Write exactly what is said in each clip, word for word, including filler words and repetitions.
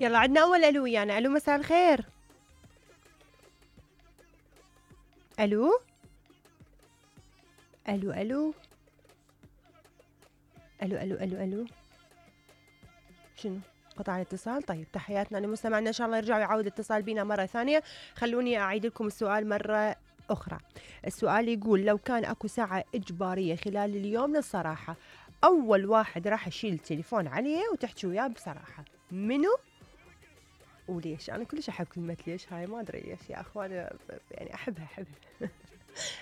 يلا عندنا اول الو ويانا. الو مساء الخير. الو الو الو الو الو الو الو شنو قطع الاتصال؟ طيب تحياتنا لمستمعنا، ان شاء الله يرجعوا يعاود الاتصال بنا مره ثانيه. خلوني اعيد لكم السؤال مره اخرى. السؤال يقول لو كان اكو ساعه اجباريه خلال اليوم للصراحه، اول واحد راح يشيل التليفون عليه وتحكي وياه بصراحه منو وليش؟ انا كلش احب كلمه ليش هاي، ما ادري ليش يا اخوان، يعني احبها احبها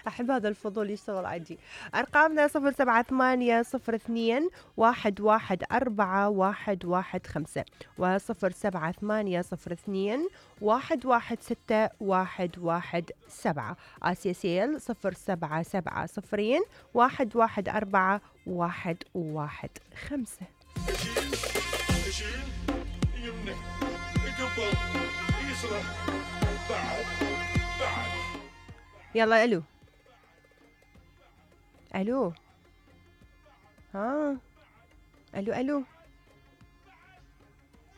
أحب هذا الفضول يشتغل عندي. أرقامنا صفر سبعة ثمانية صفر اثنين واحد واحد أربعة واحد واحد خمسة وصفر سبعة ثمانية صفر اثنين واحد واحد ستة واحد واحد سبعة. آسيا سيل صفر سبعة سبعة صفرين واحد واحد أربعة واحد واحد خمسة. يمنى قبل يسرى بعد بعد. يلا الو الو ها الو الو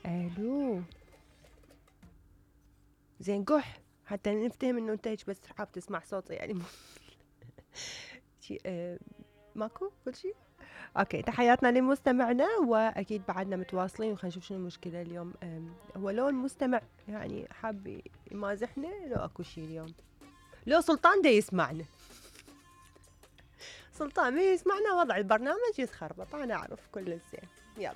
الو زين قح حتى نفتهم انه انت بس حاب تسمع صوتي يعني. شي اه ماكو كل شيء اوكي. تحياتنا لمستمعنا، واكيد بعدنا متواصلين وخلينا نشوف شنو المشكله اليوم. هو لو المستمع يعني حاب يمازحنا لو اكو شيء اليوم، لو سلطان دا يسمعنا، سلطان ما يسمعنا وضع البرنامج يتخربط، انا اعرف كل الزين. يلا